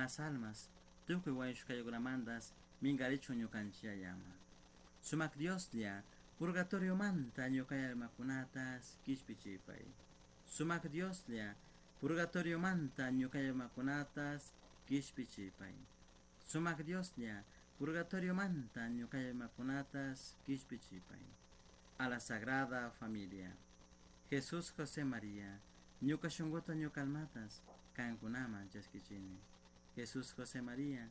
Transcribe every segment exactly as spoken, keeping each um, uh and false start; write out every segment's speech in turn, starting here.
Buenas almas, tukuy wañushkakunamantas minkarichun ñukanchik Yayaman. Sumak Dioslla, purgatoriomanta ñuka almakunatas kishpichipay. Sumak Dioslla, purgatoriomanta ñuka almakunatas kishpichipay. Sumak Dioslla, purgatoriomanta ñuka almakunatas kishpichipay. A la Sagrada Familia. Jesús José María, ñuka shunkuta ñuka almatas kankunaman chaskichini. Jesús José María,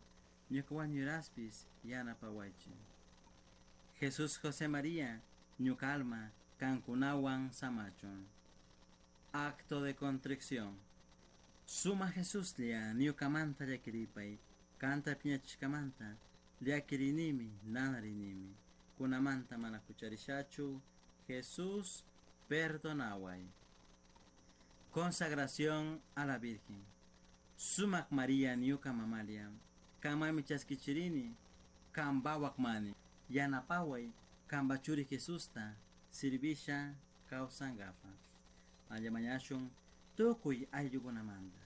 ñuka wañuraspis yanapawaychik. Jesús José María, ñuka alma kankunawan samachun. Acto de contrición. Suma Jesuslla ñukamanta llakiripay, kanta piñachishkamanta llakirinimi nanarinimi. Kunamanta mana hucharishachu, Jesús perdonaway. Consagración a la Virgen. Sumak María ñuka mamalla, kanmanmi chaskichirini, kanpawak mani, yanapaway kanpa churi Jesusta sirvisha kawsankapak. Mañashun tukuy ayllukunamanta,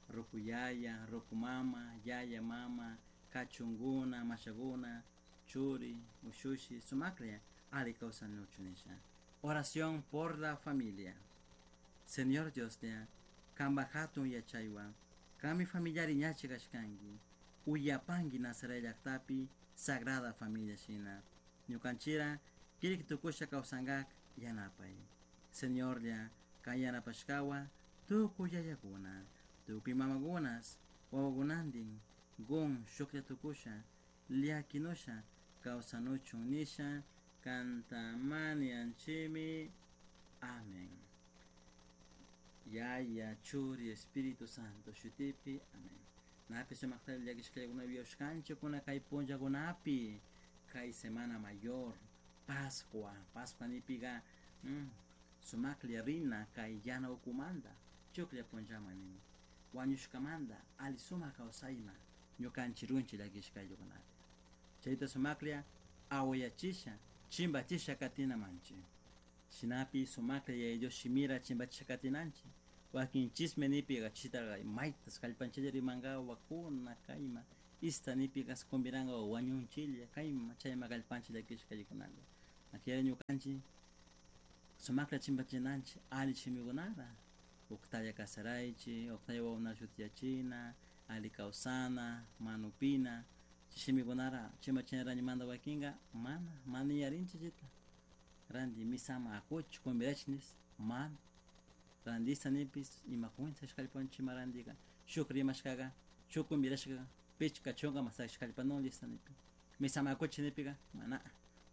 ruku yaya, ruku mama, yaya mama, kachunguna, mashaguna, churi, ushushi, sumaklla, ali kawsanuchun nisha. Oración por la familia. Señor Dioslla, kanpa hatun yachaywan, kanmi familiari ñachi kashkanki, uyapanki Nazaret llaktapi Sagrada Familia shina. Ñukanchira kirik tukusha kawsankak yanapay. Señorlla, kan yanapashkawa tukuy yayakuna, tukuy mamakunas, wawakunantin, gun shuklla tukusha, llakinusha, kawsanuchun nisha, kantamanianchimi. Amén. Yaya, Churi, Espíritu Santo, shutipi. Amén. Napi sumakta llakishkallakuna wiashkanchikuna kay punllakunapi, kay semana mayor, Pascua, Pascua nipiga mm, sumaklla rina kay yana ukumanta, chuklla punllaman nini. Wañushkamanta ali sumak kawsayman ñukanchik runchik llakishkallakunapi. Chayta sumaklla awayachisha, chimbachisha katinamanchik. Shinapi sumaklla Yaya Dios shimira chimbachisha katinanchik. Wakin chisme nipiga chitaqa maytas kallpanchilla rimankawa wakuna kayma ista nipiga kumbiranka wañunchilla kayma chayma kallpanchik llakishkallakunalla. Akira ñukanchik sumaklla chimbachinanchik ali shimikunata. Uktalla kasaraychik, uktalla wawakuna shutiyachina, ali kawsana, manupina, shimikunara chimbachinarayñimanta wakinka mana, mana yarinchik chayta. Ranti misama akuchik kumbirachik nis mana. Randista nipis imakunta kallpanchik rantika shuk rimashkaqa shuk kumbirashkaqa pichka chunka masash kallpanun lista nipi. Misama akuchik nipika mana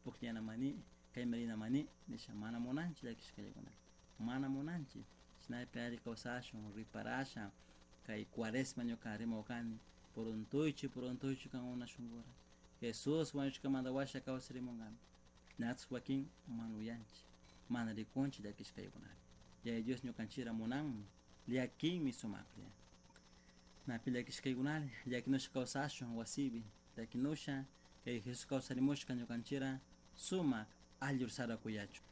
pukllana mani kayma rina mani nisha mana munanchik llakishkallakunata. Mana munanchik chaypi alli kawsashun riparasha kay cuaresma ñuka rimawkani puruntuychik puruntuychik kankuna shunkura. Jesús wañushkamanta washa kawsarimunkami. Natas wakin mana uyanchik mana rikunchik llakishkallakunapi. Yaya Dios ñukanchikra munanmi llakinmi sumaklla. Napi llakishkaykunalla llakinusha kawsashun wasipi llakinusha kay Jesús kawsarimushka ñukanchikra sumak allur sarakuyachun.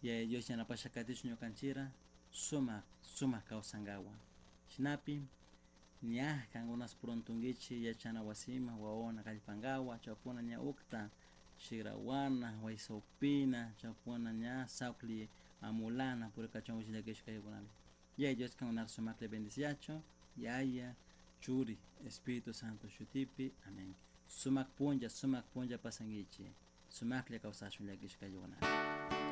Yaya Dios yanapasha katichun ñukanchikra sumak sumak kawsankawa. Shinapi ña kankunas puruntunkichik yachana wasiman wawakuna kallpankawa chawpuna ña ukta shikrawana waysawpina chawpuna ña sawkli amulana purikachunkichik llakishkaykunapi. Yaya Dios kankunata sumaklla bendiciachun. Yaya, Churi, Espíritu Santo shutipi. Amén. Sumak punlla, sumak punlla pasankichik. Sumaklla kawsashun llakishkallakunapi.